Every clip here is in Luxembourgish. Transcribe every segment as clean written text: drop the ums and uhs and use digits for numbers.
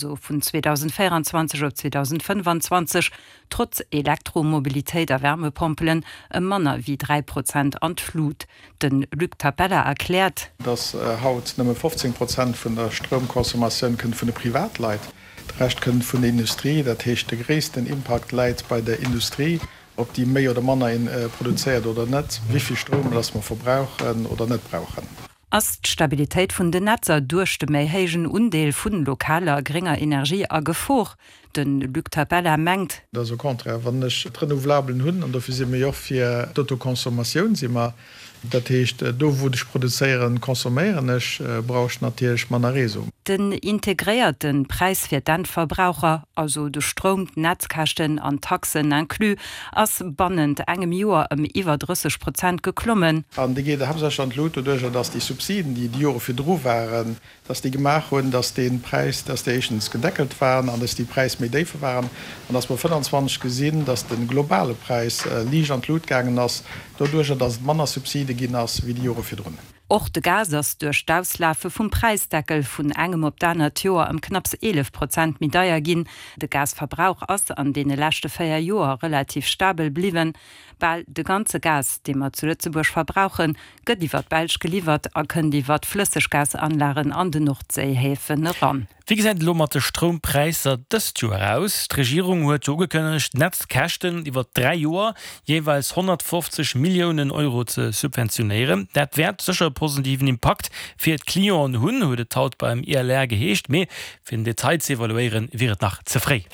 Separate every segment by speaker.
Speaker 1: Also vun 2024 op 2025, trotz Elektromobilitéit a Wärmepompelen, ëm manner wéi 3 Prozent an d'Flut. De Luc Tapella erkläert.
Speaker 2: Dass haut nëmme 15 Prozent vun der Stroumconsommatioun kënnt vun de Privatleit, de Rescht kënnt vun der Industrie. Dat heescht, de gréissten Impakt läit bei der Industrie, ob déi méi oder manner produzéiert oder net, wéi vill Stroum dass mer verbrauchen oder net brauchen.
Speaker 1: Ass d'Stabilitéit vun den Netzer duerch de méi héijen Undeel vun lokaler grénger Energie a Gefor? De Luc Tapella mengt.
Speaker 2: Dass au contraire, wann ech d'Renouvelabelen hunn, an dofir si mir jo och fir d'Autoconsommatioun si mer, dat heescht do wou ech produzéieren, consomméieren ech, brauch ech natierlech manner Réseau.
Speaker 1: Den integréierte Präis fir d'Endverbraucher, also de Stroum, d'Netzkäschten an d'Taxen inclus, ass bannent engem Joer ëm iwwer 30 Prozent geklommen.
Speaker 2: An déi geet haaptsächlech an d'Lut doduerjer, dass déi Subsiden, déi déi Jore virdru waren, dass déi gemaach hunn, dass dee Präis, dass déi éischtens gedeckelt waren an dass déi Präis méi déif waren an dass mer 25 gesinn, dass de globale Präis liicht an d'Lut gaangen ass, doduerjer, dass et manner Subside ginn ass wéi déi Jore virdrun.
Speaker 1: Och de Gas ass duerch d'Auslafe vum Präisdeckel vun engem op d'anert Joer ëm knapps 11 Prozent méi deier ginn. De Gasverbrauch ass an deene leschte 4 Joer relativ stabel bliwwen. Bal de ganze Gas, dee mer zu Lëtzebuerg verbrauchen, gëtt iwwer d'Belsch geliwwert a kënnt iwwer d'Flësseggasanlagen an den Nordséihäfen eran.
Speaker 3: Wéi gesäit et elo mat de Stroumpräisser dëst Joer aus? D'Regierung huet jo ugekënnegt, d'Netzkäschten iwwer 3 Joer jeeweils 150 Milliounen Euro ze subventionéieren. Dat wäert sécher e positiven Impakt fir d'Clienten hunn, huet et haut beim ILR geheescht. Mee fir den Detail ze evaluéieren, wier et nach ze fréi.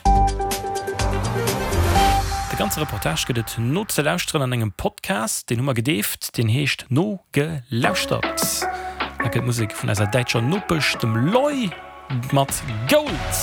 Speaker 3: De ganze Reportage gëtt et nozelauschteren an engem Podcast, deen hu mer gedeeft, deen heescht Nogelauschtert. Da kënnt Musek vun eiser däitscher Nopesch, dem Loi mat Gold.